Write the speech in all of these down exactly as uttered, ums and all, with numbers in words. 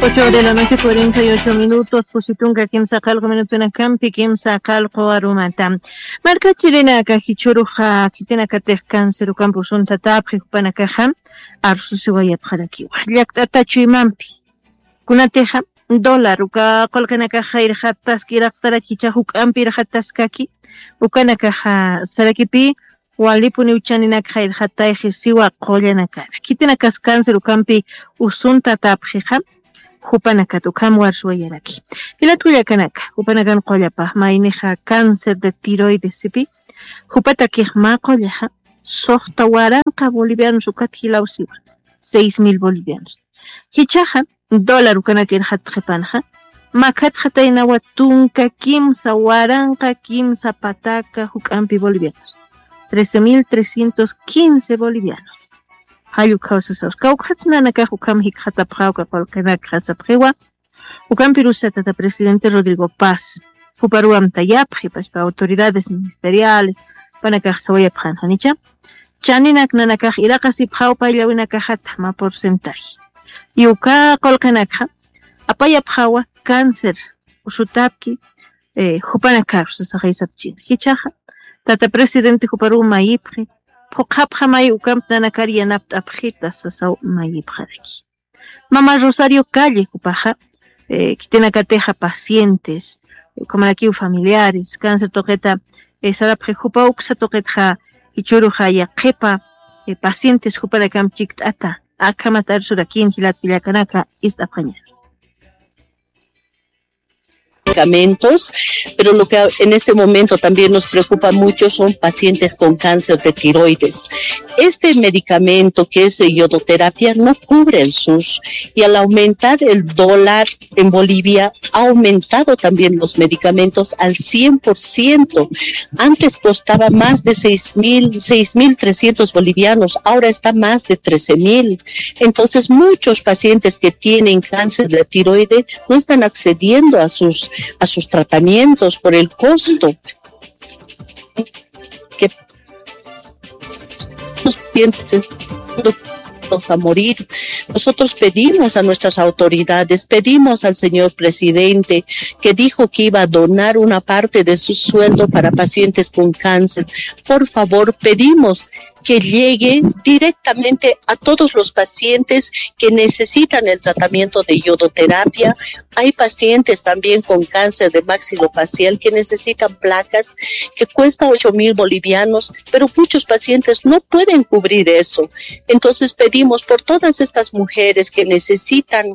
Ocho de la noche, cuarenta y ocho minutos, pusi tunka kimsa qallqu minutunakampi kimsa qallqu arumata. Markachirinaka jichhüruxa khitinakatix cáncer ukampi usuntatapxi jupanakaxa arsusiwayapxarakiwa. Llakt'ata chuymampi. Kunatixa dólar uka qullqinakax jayrxataski iraqtaraki jichhax juk'ampi irxataskaki. Ukanakaxa sarakipi walipuniw chaninakxa irxatayxi siwa qullanakana. Khitinakas cáncer ukampi usuntatapxixa jupanakat ukham warsuwayaraki. Jilat kullakanaka, jupanakan qullapa maynixa cáncer de tiroides sipi, jupatakix mä qullaxa suxta waranqa bolivianos ukat jilaw siwa, seis mil bolivianos. Jichhaxa dólar ukanak irxatxi qhipanxa, makhatxataynawa tunka kimsa waranqa kimsa pataka juk'ampi bolivianos, trece mil trescientos quince bolivianos. Jall ukhaw sasaw. Kawkhatsa nanakax ukham jikxatapxäwa uka qullqinakxa sapxiwa. Ukampirus tata presidente Rodrigo Paz, juparuw amtayapxi, pachpa autoridades ministeriales, jupanakax sawayapxän janicha. Chaninak nanakax iraqasipxäwa payllawinakaxata mä porcentaje. Y uka qullqinakxa apayapxäwa cáncer usutapki, eh, jupanakaru sasaxay sapchini. Jichhaxa tata presidente juparuw mayipxi, phuqhapxamay ukamp nanakar yanapt'apxita sasaw mayipxaraki. Mama Rosario Calle jupaxa, eh, khitinakatixa pacientes, eh, ukhamarakiw familiares, cáncer tuqita, eh, sarapxi jupa uksa tuqitxa jichhüruxa yaqhipa, eh, pacientes jupanakamp chikt'ata, akhamat arsurakïn jilat kullakanaka, ist'apxañäni. Medicamentos, pero lo que en este momento también nos preocupa mucho son pacientes con cáncer de tiroides. Este medicamento que es yodoterapia no cubre el sus, y al aumentar el dólar en Bolivia ha aumentado también los medicamentos al cien por ciento. Antes costaba más de seis mil, seis mil trescientos bolivianos, ahora está más de trece mil. Entonces, muchos pacientes que tienen cáncer de tiroide no están accediendo a sus, a sus tratamientos por el costo. Que los pacientes a morir. Nosotros pedimos a nuestras autoridades, pedimos al señor presidente que dijo que iba a donar una parte de su sueldo para pacientes con cáncer. Por favor, pedimos que llegue directamente a todos los pacientes que necesitan el tratamiento de yodoterapia. Hay pacientes también con cáncer de maxilofacial que necesitan placas que cuesta ocho mil bolivianos, pero muchos pacientes no pueden cubrir eso. Entonces pedimos por todas estas mujeres que necesitan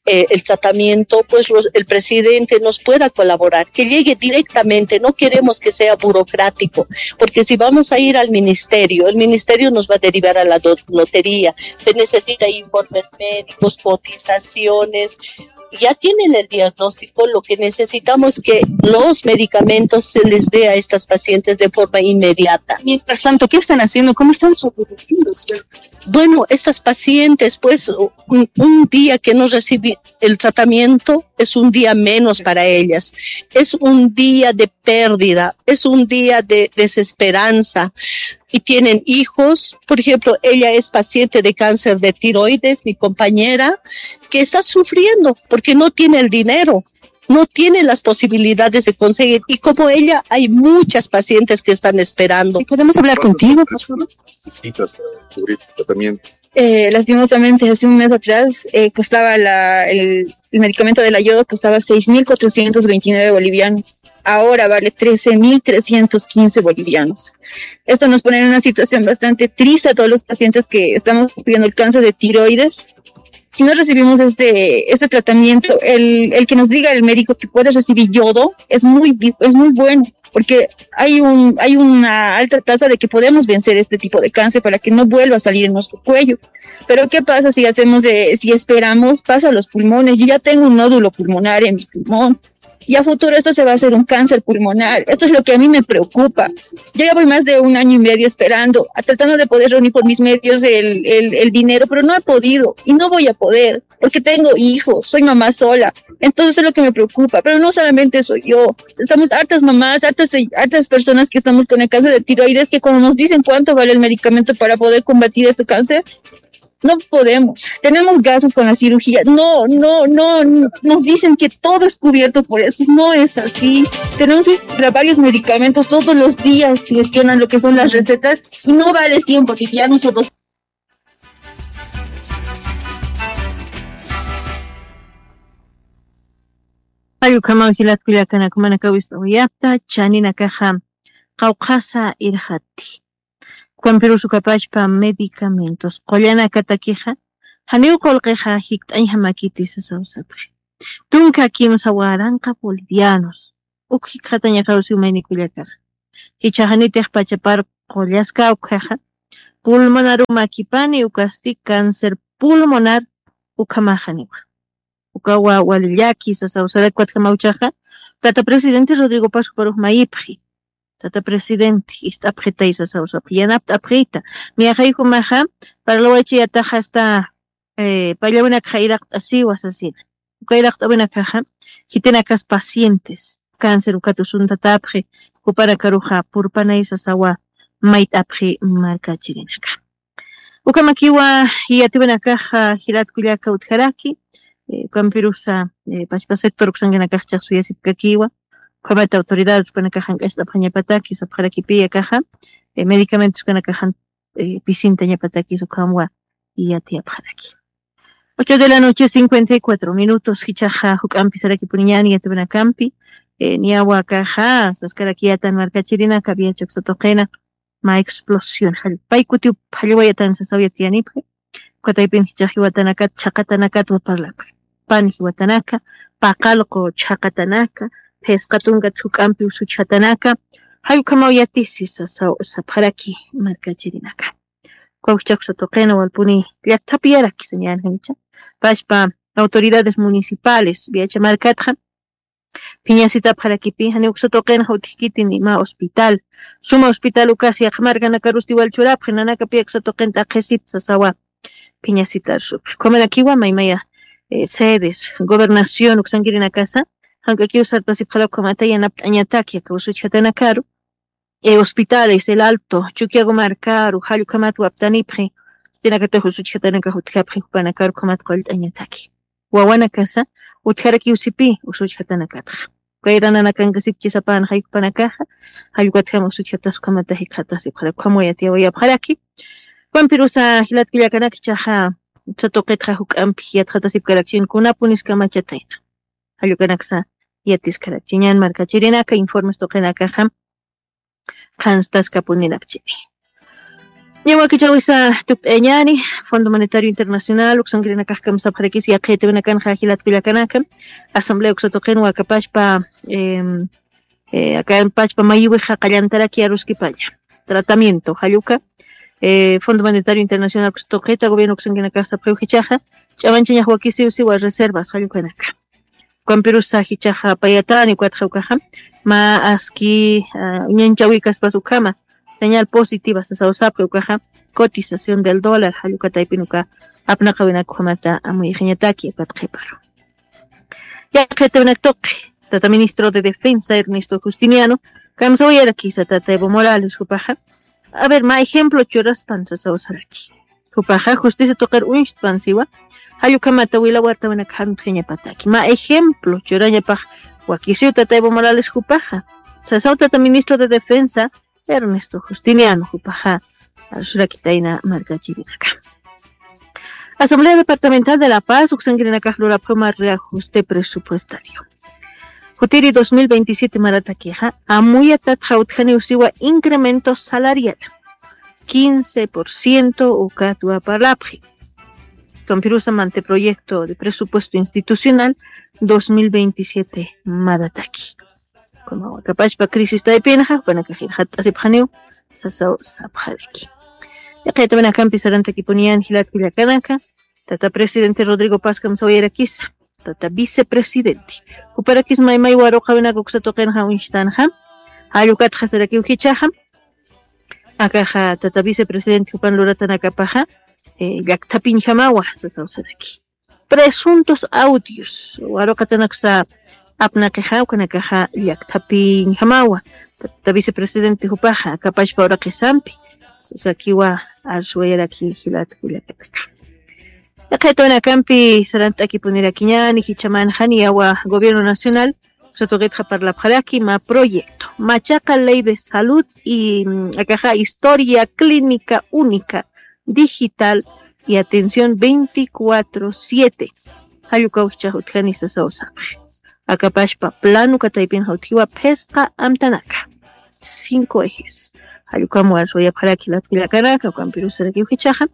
eh, el tratamiento, pues los, el presidente nos pueda colaborar, que llegue directamente, no queremos que sea burocrático, porque si vamos a ir al ministerio, el ministerio nos va a derivar a la do- lotería, se necesita informes médicos, cotizaciones, ya tienen el diagnóstico, lo que necesitamos que los medicamentos se les dé a estas pacientes de forma inmediata. Mientras tanto, ¿qué están haciendo? ¿Cómo están sobreviviendo? Bueno, estas pacientes, pues, un, un día que no reciben el tratamiento es un día menos para ellas, es un día de pérdida, es un día de desesperanza. Y tienen hijos, por ejemplo, ella es paciente de cáncer de tiroides, mi compañera, que está sufriendo porque no tiene el dinero, no tiene las posibilidades de conseguir. Y como ella, hay muchas pacientes que están esperando. ¿Podemos hablar contigo, por favor? Necesitas para cubrir tu tratamiento? Eh, lastimosamente, hace un mes atrás eh, costaba la, el, el medicamento de la yodo, costaba seis mil cuatrocientos veintinueve bolivianos. Ahora vale trece mil trescientos quince bolivianos. Esto nos pone en una situación bastante triste a todos los pacientes que estamos sufriendo el cáncer de tiroides. Si no recibimos este, este tratamiento, el, el que nos diga el médico que puede recibir yodo es muy, es muy bueno, porque hay, un, hay una alta tasa de que podemos vencer este tipo de cáncer para que no vuelva a salir en nuestro cuello. Pero ¿qué pasa si hacemos, de, si esperamos? Pasa a los pulmones. Yo ya tengo un nódulo pulmonar en mi pulmón. Y a futuro esto se va a hacer un cáncer pulmonar. Esto es lo que a mí me preocupa. Yo ya voy más de un año y medio esperando, tratando de poder reunir por mis medios el, el, el dinero, pero no he podido y no voy a poder, porque tengo hijos, soy mamá sola. Entonces eso es lo que me preocupa, pero no solamente soy yo. Estamos hartas mamás, hartas, hartas personas que estamos con el cáncer de tiroides, que cuando nos dicen cuánto vale el medicamento para poder combatir este cáncer, No podemos. Tenemos gastos con la cirugía. No, no, no, no. Nos dicen que todo es cubierto por eso. No es así. Tenemos que comprar varios medicamentos todos los días. Gestionan lo que son las recetas y no vale cien bolivianos o dos. Allukamaw jilatkullakanakumanakawista uyapta chaninakaxa qawqhasa irxati. Ukampirus ukapachpa medicamentos qullanakatakixa janiw qullqixa jikt'añjamakiti sasawsapxi. Tunka kimsa waranqa bolivianos uk jikxatañaxawsi umaynikullakaxa. Jichhaxanitix pachapar qullaska ukhaxa pulmonarumakipani ukasti cáncer pulmonar. Ukhamaxaniwa ukawa walillaki sasawsaraki ukatjamawchaxa. Tata presidente Rodrigo Pascuaruxmayipxi. Tata presidente ist'apxitay sasawsapxi yanapt'apxita. Niyaxaykumaxa parlawaychayataxasta pallawinakxa iraqt'asiwa sasina. Uka iraqt'awinakaxa jitinakas pacientes cáncer ukatusuntatapxi jupanakaruxa purpanay sasawa mayt'apxi markachirinaka. Ukamakiwa yatiwinakaxa jilatkullaka utjaraki. Ukampirusa pachpa sector uksankinakaxchax suyasipkakiwa. Ukhamata autoridades ukanakaxan k'acht'apxañapataki sapxarakipiyakaxa medicamentos ukanakaxan pisintañapatakis ukhamwa yatiyapxaraki. Ocho de la noche cincuenta y cuatro minutos jichaxa juk'ampi sarakipuniñani yatiwinakampi. Niyawa kaxa saskarakiyatan markachirinaka viacha uksa tuqina ma explosión jallpay kutiw jallwayatan sasaw yatiyanipxi. Ukataypin jichax jiwatanakat chhaqatanakat waparlapxi. Pani jiwatanaka paqalqu chhaqatanaka phisqa tunkat juk'ampi usuchhatanaka jallkhamaw yatisi sasaw sapxaraki markachirinaka. Kawkchaksa tuqina walpuni llakthapiyarakisa ñanxañacha pachpa autoridades municipales viacha markatxa phiñasitapxarakipi jani uksa tuqinxa utjkiti ni ma hospital. Suma hospital ukas yaqha markanakarusti wal churapxi nanakapi uksa tuqin t'aqhisipta sasawa. Phiñasitarusupxi ukhamanakiwa maymaya sedes gobernación uksankirinakasa jank'akiw sartasipxara ukhamata yanapt'añataki aka usuchjatanakaru hospitales el alto chukiago markaru jallukhamat waptanipxi. Tinakatix usuchjatanakax utjapxi jupanakaru ukhamat qullt'añataki wawanakasa utjarakiwsipi usuchjatanakatxa. Kayrananakankasipchisapan jaykupanakaxa jallukatjama usuchjatas ukhamata jikxatasipxara ukham wayatiyawayapxaraki. Ukhampirusa jilatkullakanaka ichaxa uksa tuqitxa juk'ampi yatxatasipkarakchin kunapuniskamachatayna jallukanaksa yatiskarakchiñan markachirinaka informes tuqinakaxa qhanstaskapuninakchini. Ñawakichawisa tukt'ayañani fondo monetario internacional uksankirinakaxkam sapxarakis yaqhitawinakanxa jilatkullakanaka asamblea uksa tuqin wakapachpa akapachpa mayiwixa qallantaraki aruskipaña tratamiento jalluka fondo monetario internacional uksa tuqita gobierno uksankinakax sapxiw jichaxa ch'amanchañax wakisiwsiwa reservas jallukanaka. Ukampirusa jichaxa payatani ukatxa ukaxa ma aski uñanchawikaspas ukhama señal positiva sasawsapxi ukaxa cotización del dólar jallukataypin uka apnaqawinak ukhamata amuyixañataki ukat qhiparu. Yaqhitawinak tuqi tata ministro de defensa Ernesto Justiniano kamsawayarakisa tata Evo Morales jupaxa a ver ma ejemplo churaspan sasawsaraki. Jupaxa justicia tuqir uñchtpan siwa jallukhamata wilawartawinak jantxañapataki ma ejemplo churañapax wakisiw tata Evo Morales jupaxa sasaw tata ministro de defensa Ernesto Justiniano jupaxa arsurakitayna markachirinaka. Asamblea departamental de la paz uksankirinakax lurapxuma reajuste presupuestario. Jutiri dos mil veintisiete maratakixa amuyatatxa utjaniw siwa incremento salarial quince por ciento ukatwa parlapxi. Kampirusa manteproyecto de presupuesto institucional dos mil veintisiete marataki. Como wakapachpa crisis taypinxa jupanakax irxatt'asipxaniw sasaw sapxaraki. Yaqhitaminakampi sarantakipuniyan jilatkullakanaka tata presidente Rodrigo Paz kamsawayarakisa tata vicepresidente juparakis maymay waruqawinaka uksa tuqinxa uñchtanxa jallukatxa sarakiw jichaxa akaxa tata vicepresidente jupan luratanakapaxa llakthapiñjamawa sasaw saraki. Presuntos audios waruqatanaksa apnaqixa ukanakaxa llakthapiñjamawa tata vicepresidente jupaxa akapachpa uraqisampi sasakiwa arsuwayaraki jilatkullakanaka. Yaqhaytawinakampi sarant'akipunirakiñani jichaman janiyawa gobierno nacional, satuqitxa parlapxaraki ma proyecto machaqa ley de salud y mm, akaxa historia clínica única digital y atención veinticuatro siete. Jallukaw jichax utjani sasaw sapxi. Akapashpa plano kataypinxa utjiwa phisqa amtanaka cinco ejes. Jallukam warswayapxaraki latkullakanaka ukampirusarakiw jichaxa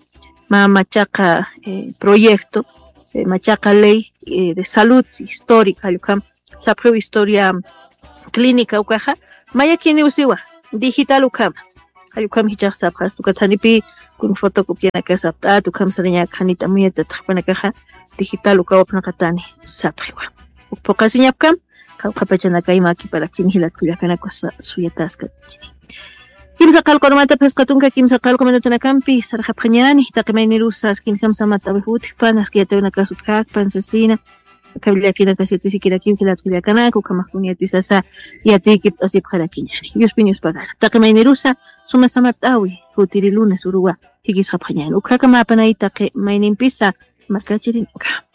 ma machaqa eh, proyecto eh, machaqa ley eh, de salud histórica jallukam sapxiw historia clínica ukaxa mayakiniw siwa digital ukama. Jallukam jichax sapxas tukatanipi kun fotocopianaka sapt'at ukam sarañak janita muyata taqpanakaxa digital ukawapnaqatani sapxiwa. Ukpuqasiñapkam qawqhapachanakayma kiparakchini jilatkullakanakwa suyataskatchini. Kimsa qalqurmata phisqa tunka kimsa qalqu minutanakampi sarxapxañani taqi maynirusa askinjam samat awij utjpan aski yatawinakas utjakpan sasina. Akawillakinakasitisikirakimki latkullakanaka ukhamaxkun yatisasa yatiykipt'asipxarakiñani yuspiñuspagana taqi maynirusa suma samat awi jutiri lunes uruwa. Jikisxapxañani ukhakamapanay taqi maynimpisa markachirinaka.